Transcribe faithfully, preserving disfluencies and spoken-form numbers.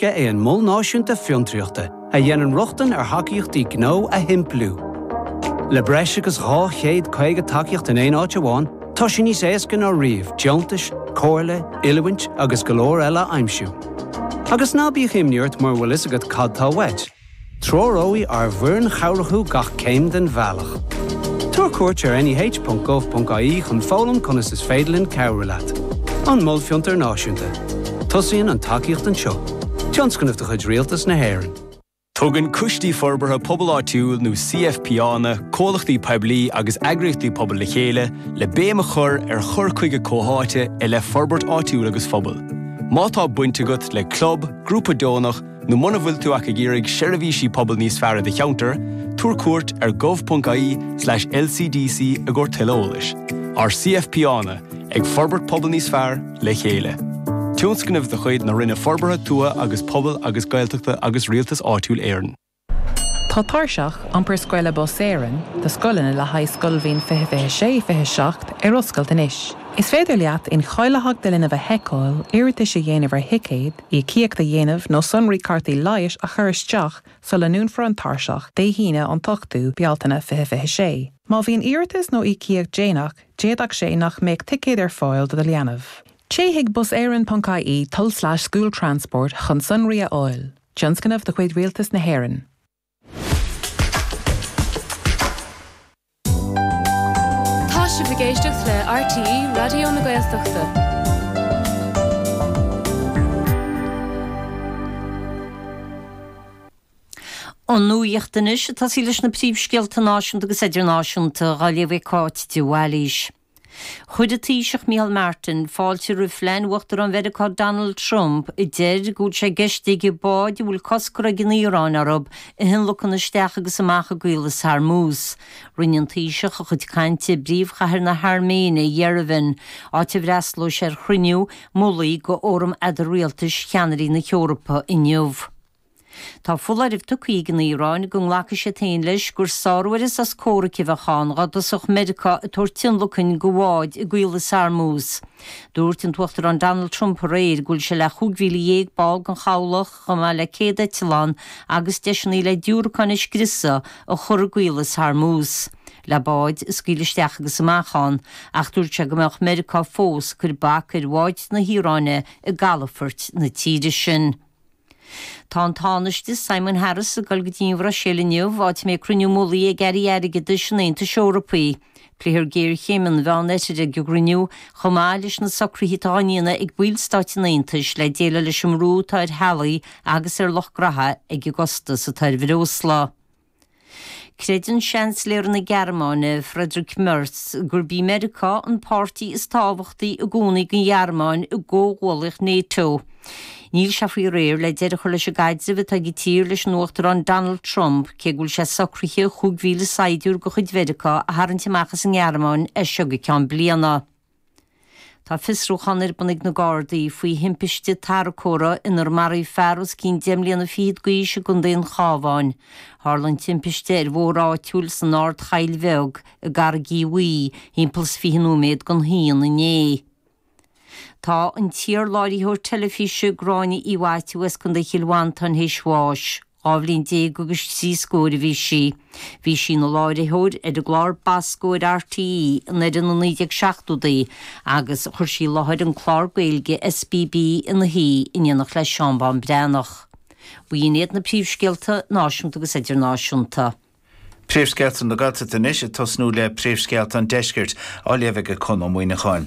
é an Mol Náisiúnta Fiontraíochta a dhéanann rochtain ar thacaíochtaí gnó a shimpliú. Le breis agus dhá chéad caoga tacaíocht in aon áit amháin, tá sé níos éasca ná riamh deontais, comhairle, oiliúint agus go leor eile a aimsiú. Agus ná bíodh imní ort mura bhfuil a fhios agat cad tá uait. Treoróidh ár bhfoireann chabhrach thú gach céim den bhealach. Tabhair cuairt ar neh.gov.ie chun foghlaim conas is féidir linn cabhrú leat. An Mol Fiontar Náisiúnta. Tosaíonn an tacaíocht anseo. Tionscnamh de chuid Rialtas na hÉireann. Tugann Coistí Forbartha Pobail Áitiúil nó CFPÁanna, comhlachtaí poiblí agus eagraíochtaí pobail le chéile le béim a chur ar chur chuige comhtháite i leith forbairt áitiúil agus phobail. Má tá baint agat le club, grúpa deonach nó muna bhfuil tú ach ag iarraidh seirbhísí pobail níos fearr i do cheantar, tabhair cuairt ar gov.ie slash LCDC i gcomhair tuilleadh eolais. Ár CFPÁanna ag forbairt pobal níos fearr le chéile. Tionscnamh de chuid na Roinne Forbartha Tuaithe agus Pobail agus Gaeltachta agus Rialtas Áitiúil Éireann. Tá tairseach iompar scoile Bus Éireann do scoileanna le haghaidh scoilbhliain fiche fiche sé fiche seacht ar oscailt anois. Is féidir leat incháilitheacht do linbh a sheiceáil, iarratais a dhéanamh ar thicéid, íocaíocht a dhéanamh nó sonraí cártaí leighis a chur isteach sula ndúnfar an tairseach Dé hAoine an t-ochtú Bealtaine fiche fiche sé. Má bhíonn iarratas nó íocaíocht déanach, d'fhéadfadh sé nach mbeadh ticéad ar fáil do do leanbh. Téigh chuig buseireann.ie tulslais school transport chun sonraí a fháil. Tionscnamh de chuid Rialtas na hÉireann. Tá sibh ag éisteacht le RTÉ Raidió na Gaeltachta. An nuacht anois, ag tosaí leis na príomhscéalta náisiúnta agus idirnáisiúnta, á léamh ag Cáit de Bhailís. Chuir an Taoiseach Micheál Martin fáilte roimh phlean Uachtarán Mheiriceá Donald Trump a deir go bhfuil sé i gceist aige báid a bhfuil cosc curtha ag an Iaráin orthu a thionlacan isteach agus amach i gCaolas Hormuz. Rinne an Taoiseach a chuid cainte i bpríomhchathair na hAirméine, Yerevan, áit a bhfreastalóidh sé ar chruinniú mullaigh de Fhóram Eadar-Rialtais Cheannairí na hEorpa inniu. Tá foláireamh tugtha ag an Iaráin go nglacfaidh siad féin leis gur sárú ar an sos comhraic a bheadh ann dá dtosódh Meiriceá ag tabhairt tionlacain do bháid i gCaolas Hormuz. Dúirt an tUachtarán Donald Trump aréir go bhfuil sé le chúig mhíle dhéag ball den chabhlach, chomh maith le céad eitleán agus deiseanna le diúracáin a scriosadh, a chur i gCaolas Hormuz le báid a scaoileadh isteach agus amach ann, ach dúirt sé go mbeadh Meiriceá fós ag cur bac ar bháid na hIaráine i gcalafoirt na tíre sin. Tá an Tánaiste Simon Harris ag dul go dtí an Bhruiséil inniu, áit a mbeidh cruinniú mullaigh ag airí airgeadais an Aontais Eorpaigh. Pléifear géarchéim an Mheánoirthir ag an gcruinniú, chomh maith leis na socruithe atá á ndéanamh ag ballstáit an Aontais le déileáil leis an mbrú atá ar theaghlaigh agus ar lucht graithe ag an gcostas atá ar bhreosla. Creideann Seansailéir na Gearmáine, Friedrich Merz, gurb í Meiriceá an páirtí is tábhachtaí i gcónaí don Ghearmáin i gcomhghuallaíocht NATO. Níl sé faoi réir le deireadh a chur leis an gcaidreamh atá ag an tír leis an Uachtarán Donald Trump, cé go bhfuil sé socraithe chúig mhíle saighdiúir de chuid Mheiriceá a tharraingt amach as an nGearmáin as seo go ceann bliana. Tá fiosrúchán ar bun ag na Gardaí faoi thimpiste tarracóra inar maraíodh fear os cionn deich mbliana fichead d'aois i gContae an Chabháin. Tharla an timpiste ar bhóthar áitiúil san Ardchoill Bheag i gCarraig Uí Bhuí thimpeall is fiche nóiméad don haon inné. Tá an t-iar-láithreoir teilifíse Gráinne Uí Mhaitiú as Contae Chill Mhantáin théis bháis. Dhá bhliain déag agus trí scór a bhí sí. Bhí sí ina láithreoir ar an gclár Bosco ar RTÉ i ndeireadh na naoi déag seachtóidí agus chuir sí i láthair an clár Gaeilge SBB ina Shuí in éineacht le Seán Bán Breathnach. B'in iad na príomhscéalta náisiúnta agus idirnáisiúnta. Príomhscéalta na Gaeltachta anois, ag tosnú le príomhscéalta an Deiscirt, á léamh ag Conn Ó Muíneacháin.